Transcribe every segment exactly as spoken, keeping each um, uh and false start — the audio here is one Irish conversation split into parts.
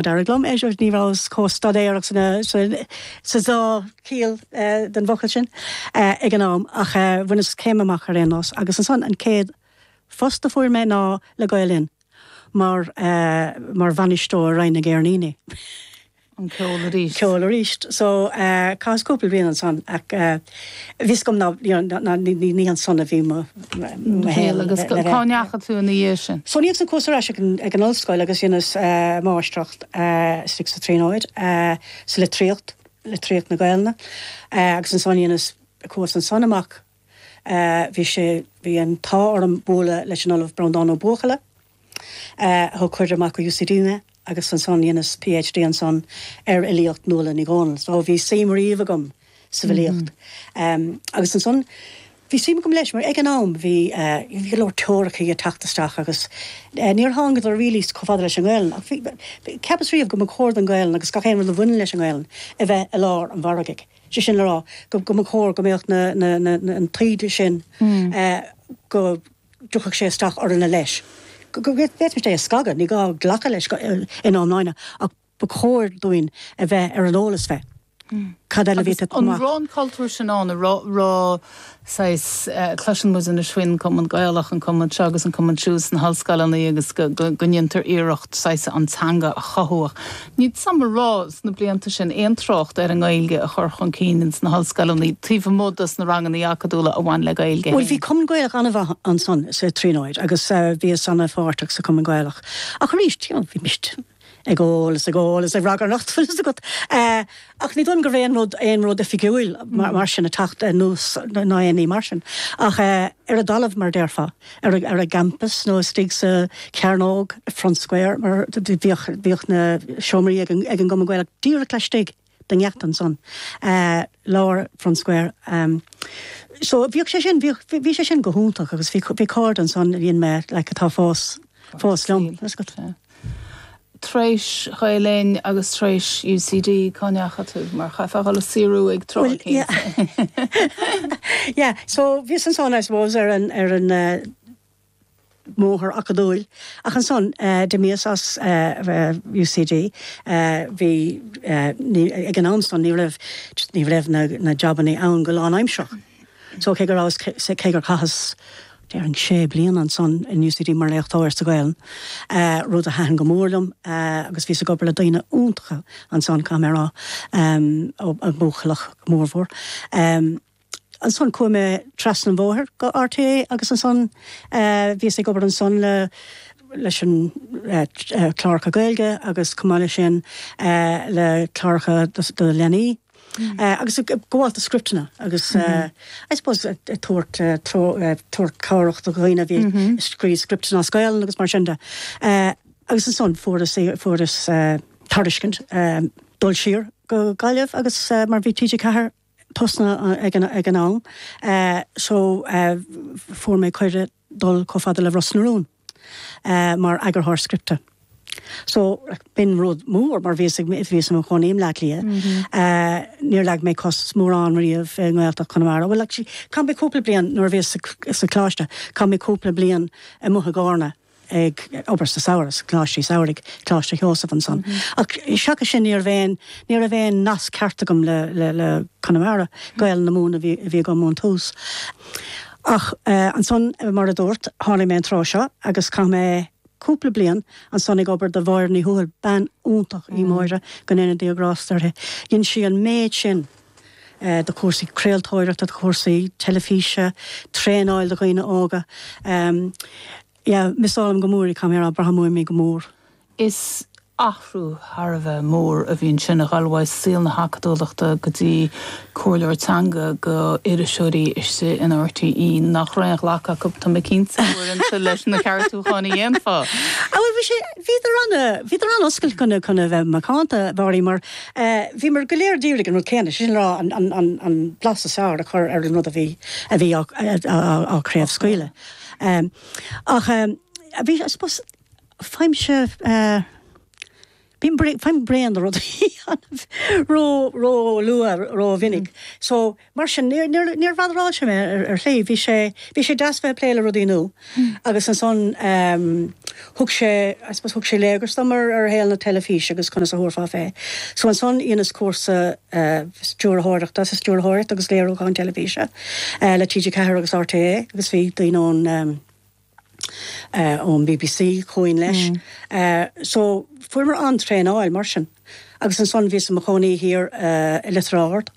D'éirigh liom é ní rabhas chomh staidéarach sa dá chiall den bhfocal sin ag an am ach bhaineas céim amach ar aon nós agus ansan an chéad phost a fuair mé ná le Gael Linn mar mar bhainisteoir Roinn na gCeirníní. An ceol arís. Ceol arís. So chaitheas cúpla bliain ansan ach bhí agam ná ní ansan a bhí mo shaol agus cá ndeachaigh tú ina dhiaidh sin. So ní san chuas ar ais ag an ollscoil agus dheineas máistreacht istigh sa Tríonóid sa litríocht, litríocht na Gaelainne agus ansan dheineas chuas ansan amach bhí sé bhí an t-ádh orm bualadh leis an Ollamh Breandán Ó Buachalla a thug cuireadh amach ó UCD mé agus ansan dheineas PhD ansan ar fhilíocht Nuala Ní Dhomhnaill. So bhí suim riamh agam sa bhfilíocht. Um, agus ansan bhí suim agam leis mar ag an am bhí uh, bhí go leor teoiricí ag teacht isteach agus uh, níor thángadar really chomh fada leis an nGaelainn. Ach bhí cheapas riamh go mba chóir don Ghaelainn agus gach aon rud a bhaineann leis an nGaelainn a bheith i lár an mhargaidh. Sé sin le rá go go mba chóir go mbeadh na, na, na, na, an taighde sin mm. uh, go dtiocfadh sé isteach orainne leis. Go bhféadfaimis é a scagadh, ní gá glacadh leis in iomláine ach ba chóir dúinn a bheith ar an eolas fé. Cad eile bhí An raibh an cultúr sin ann raibh cloiseann muid anois faoin Cumann Gaelach an cumann seo agus an cumann siúd sna hollscoileanna agus go ndéantar iarracht saghas an teanga a chothú. Ní sam rá sna blianta sin aon trácht ar an nGaeilge a chur chun cinn sna hollscoileanna taobh amuigh dos na ranganna acadúla a bhain le Gaeilge. Well bhí Cumann Gaelach an-mhaith ansan sa Tríonóid agus uh, bhíos an-pháirteach sa Cumann Gaelach. Ach arís bhí mist ag ól is ag ól is ag ragairneacht fuil agat. Uh, ach ní dóigh go raibh aon rud aon rud oifigiúil mar, mar sin ag teacht anuas ná aon ní mar sin. Ach uh, ar an dtalamh mar déarfá ar ar an gcampus nó istigh sa Cearnóg Front Square mar bhíodh bhíodh na seomraí ag an, ag an gCumann Gaelach díreach laistigh den ngeata ansan uh, lár Front Square. Um, so bhíodh sé sin bhí sé sin go hiontach agus bhí bhí cairde ansan a bhíonn mé le atá fós fós liom. Tar éis Ghael Linn agus tar éis UCD cá ndeachaigh tú mar chaithfeá le saothrú ag tráth. Yeah. yeah, so bhí ansan I suppose ar an ar an uh, mbóthar acadúil ach ansan uh, d'imíos as uh, UCD uh, bhí uh, ag an am san ní raibh ní raibh na, na jabanna ann go lánaimsearach. So cé gur cé gur chaitheas déarfainn sé bliana ansan in UCD mar léachtóir sa Ghaelainn uh, rud a thaitin go mór liom uh, agus bhíos ag obair le daoine iontacha ansan camera um, a buchalach mórmhór. Um, ansan chuaigh mé trasna an bhóthair go RTÉ agus ansan uh, bhíos ag obair ansan le leis an uh, cláracha Gaeilge agus chomh maith sin uh, le cláracha do leanaí. Mm. Uh, agus gabháil do scripteanna agus mm -hmm. uh, I suppose tabhairt tabhairt cabhrach do dhaoine bhí mm -hmm. scríobh scripteanna as Gaeilge agus mar sin de. Uh, agus ansan fuaireas fuaireas uh, tairiscint um, dul siar go Gaillimh agus uh, mar bhí TG Ceathair tosnaithe ag an ag an am uh, so uh, fuair mé cuireadh dul chomh fada le Ros na Rún uh, mar eagarthóir scripte. So b'in rud mór mar bhíos bhíos i mo chónaí i mBleá Cliath. Mm -hmm. uh, Níor leag mé cos mórán riamh i nGaeltacht Chonamara. Well actually chaith mé cúpla bliain nuair bhíos sa choláiste, chaith mé cúpla bliain amuigh i gCarna ag obair sa samhradh coláiste samhraidh Coláiste Sheosaimh ansan. Mm -hmm. Ach seachas sin ní raibh ní raibh aon nasc ceart agam le le le Conamara Gaeilge na Mumhan a bhí bhí agam ón tús. Ach uh, ansan mar a dúirt tháinig mé an tráth seo agus chaith mé cúpla bliain ansan ag obair do Mháire Ní Thuathail bean iontach í mm. Máire go ndéana Dia grásta uirthi. Dhein sí an méid sin uh, do chúrsaí craoltóireachta do chúrsaí teilifíse, traenáil do dhaoine óga. Um, yeah, missálaim go mór í caméra braithim mé go mór. Is athrú thar a bheith mór a bhíonn sin a ghabháil saol na hacadúlachta go dtí comhairleoir teanga go iriseoirí istigh in RTÉ nach raibh aon ghlacadh acu tá mé cinnte uaireanta leis na ceartúcháin a dhéanfá. Bhí sé bhíodar an bhíodar an-oscailte chun chun a bheith macánta bhí mar bhí mar go léir d'iarraidh an rud céanna sin rá an an an an blas is fearr a chur ar an rud a bhí a bhí á chraobhscaoileadh. Ach bhí fheimse Bím faighim bréan de rudaí ró ró luath ró mhinic. So mar sin níor níor bhotheráil sé mé ar ar shlí, bhí sé bhí sé deas bheith ag plé le rudaí nua. Agus ansan um, thug sé I suppose thug sé léargas dom ar ar shaol na teilifíse agus conas a thabharfá fé. So ansan dheineas cúrsa uh, stiúrthóireachta sa stiúrthóireacht agus léiriúchán teilifíse uh, le TG Ceathair agus RTÉ agus bhí daoine ón um, uh, ón BBC chugainn leis. Mm. Uh, so fuair an-traenáil mar sin. Agus ansan bhíos i mo chónaí thiar uh, i Leitir Ard.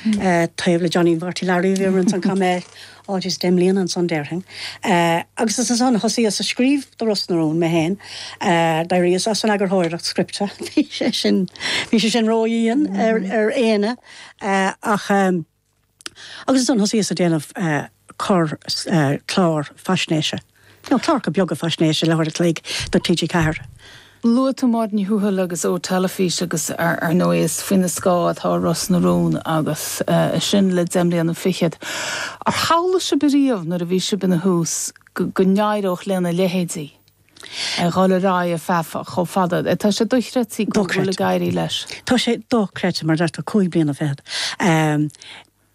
Mm. Uh, taobh le Johnny Mharty Larry bhí an an mé áis deich mbliana ansan déarfainn. Uh, agus ansan thosaíos ag scríobh do Ros na Rún mé féin, uh, d'éiríos as an eagarthóireacht scripte bhí sé sin bhí sé sin ródhian mm. ar, ar éine uh, ach um, agus ansan thosaíos ag déanamh uh, cor uh, clár faisnéise. No, cláracha beaga faisnéise leathuair an chloig do TG Ceathair. Luaigh tú Máirín Ní Thuathail agus ó teilifís agus ar ar ndóigh is faoina scáth atá Ros na Rún agus uh, sin le deich mbliana fichead. Ar shamhlaigh sibh riamh nuair a bhí sibh ina thús go n-éireodh lena leithéidí. A dul ar aghaidh feadh chomh fada. Tá sé dochreidte go bhfuil ag éirí leis. Tá sé dochreidte mar deirtear cúig bliana fichead. Um,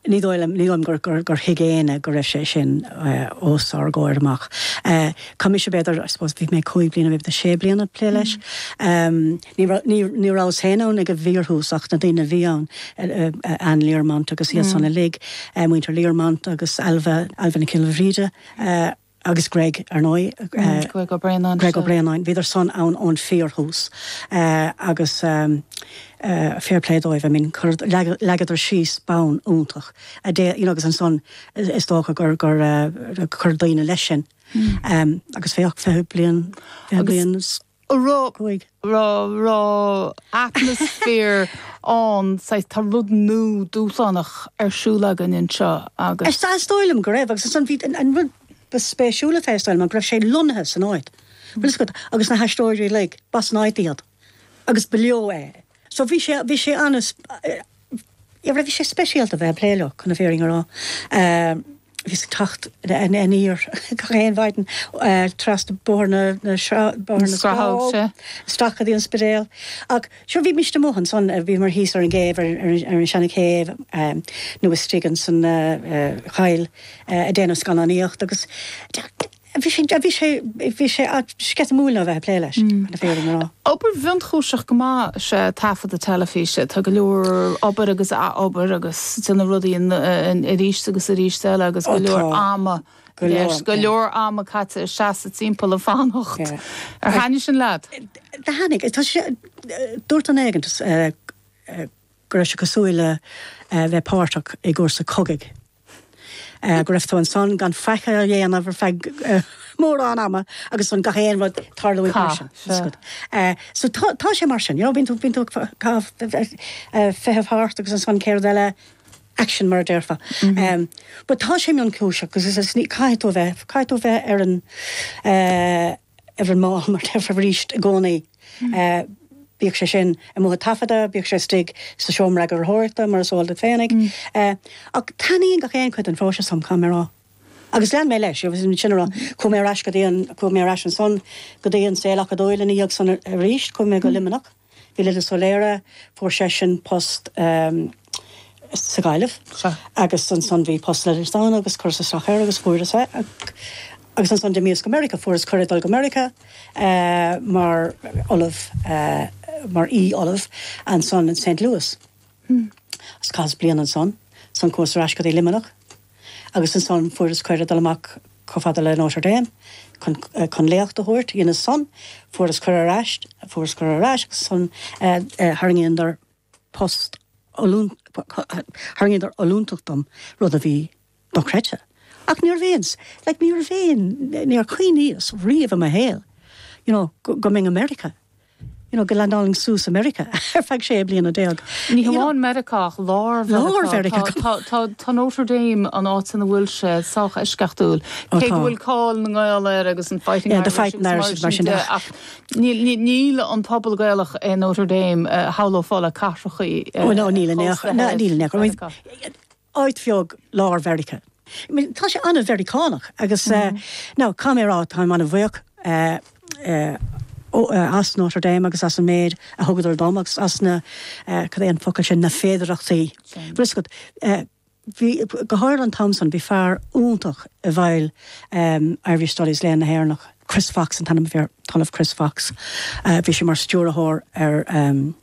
Ní dóigh ní dóigh gur gur gur thuig éinne go raibh sé sin uh, os ár gcomhair amach. Uh, Tá mise b'fhéidir I suppose bhí mé cúig bliana bhí sé bliana plé leis. Um, ní ní ní rabhas féin ann ag an bhfíorthús ach na daoine bhí ann uh, uh, Ann Learmont agus iad san uilig, uh, muintir Learmont agus Alva Alva na Kilbhríde. Uh, agus Greg ar ndóigh uh, Greg Ó Braonáin Greg Ó Braonáin bhíodar san ann ón fíorthús uh, agus um, uh, fair play dóibh I mean leagadar síos bonn iontach a dé you know, agus ansan is dócha gur gur uh, chuir daoine leis sin mm. um, agus féach fiche bliain bliain Raibh raibh raibh atmaisféar ann tá rud nua dúshlánach ar siúl againn anseo agus. Is dóigh liom go raibh agus an bhí an rud ba spéisiúla fé is dóigh liom go raibh sé lonnaithe san áit. Mm. agus na haisteoirí like b'as an áit iad agus ba leo é. So bhí sé bhí sé an bhí sé speisialta bheith plé leo chun na fírinne a rá. Bhí teacht aniar gach aon mhaidin trasna bóthar na na isteach go dtí an Spidéal. Ach sure bhí mise amuigh ansan bhí mar thíos ar an gcéibh ar an seanchéibh nó istigh san choill ag déanamh scannánaíocht agus bhí sé bhí sé bhí sé sceitimíneach a bheith plé leis na fírinne a rá. Obair mhionchúiseach go maith sé taifeadadh teilifíse tá go leor obair agus obair agus déanamh rudaí arís agus arís eile agus go leor ama go leor ama caite ag seasamh timpeall ag fanacht. Ar thaitnigh sin leat? Thaitnigh tá sé dúirt duine éigin go raibh sé cosúil le bheith páirteach i gcúrsa cogaidh. Go raibh tú ansan gan faic a dhéanamh ar feadh mórán ama agus an gach aon rud tarlú mar sin. So tá sé mar sin, bíonn tú bíonn tú feitheamh thart agus ansan céard eile action mar a déarfá. Um, but tá sé mionchúiseach agus is ní caithfidh tú bheith caithfidh tú bheith ar an ar an mball mar déarfá arís i gcónaí. Bíodh sé sin amuigh ag taifeadadh, bíodh sé istigh sa seomra eagarthóireachta mar is eol duit féinig. Ach taitníonn gach aon chuid den phróiseas liom, caithfidh mé a rá. Agus lean mé leis, agus sin a rá, chuaigh mé ar ais go dtí an, chuaigh mé ar ais ansan go dtí an saol acadúil ina dhiaidh san arís, chuaigh mé go Luimneach. Bhí Lillis Ó Laoire, fuair seisean post sa Ghaillimh agus ansan bhí post le Leidhleastáin agus chuireas isteach air agus fuaireas é. Agus ansan d'imíos go Meiriceá, fuaireas cuireadh dul go Meiriceá mar ollamh, mar aoi-ollamh ansan in Saint Louis. Agus chaitheas bliain ansan, ansan chuas ar ais go dtí Luimneach agus ansan fuaireas cuireadh dul amach chomh fada le Notre Dame chun, chun léacht a thabhairt. Dheineas san, fuaireas cuireadh ar ais, fuaireas cuireadh ar ais agus ansan tharraingíodar post tharraingíodar ollúntacht dom, rud a bhí dochreidte. Ach ní raibh aon, like ní raibh aon, níor chuimhníos riamh i mo shaol, you know, go, go mbeinn i Meiriceá, you know, go landálfainn suas i Meiriceá ar feadh sé bliana déag. Ní hamháin Meiriceá ach lár Lár Mheiriceá. Tá, tá, tá Notre Dame an áit ina bhfuil sé sách eisceachtúil. Cé go bhfuil cáil na nGael air agus an Fighting Yeah, the Irish Fighting agus Irish mar sin de. Ach níl, níl, níl an pobal Gaelach i Notre Dame uh, shamhlófá le cathrachaí. Oh, no, níl in aon chor. No, níl in aon chor. Áit bheag lár Mheiriceá. I mean, tá sé an-Mheiriceánach agus mm. uh, now caithfidh mé a rá táim an-bhuíoch uh, uh, as Notre Dame agus as an méid a thugadar dom agus as na cad é an focal sin na féidearthachtaí. Briscot bhí go háirithe an t-am san bhí fear iontach i bhfeighil um, Irish Studies Léann na hÉireannach. Chris Fox an t-ainm bhí Ollamh Chris Fox. Uh, bhí sé mar stiúrthóir ar um,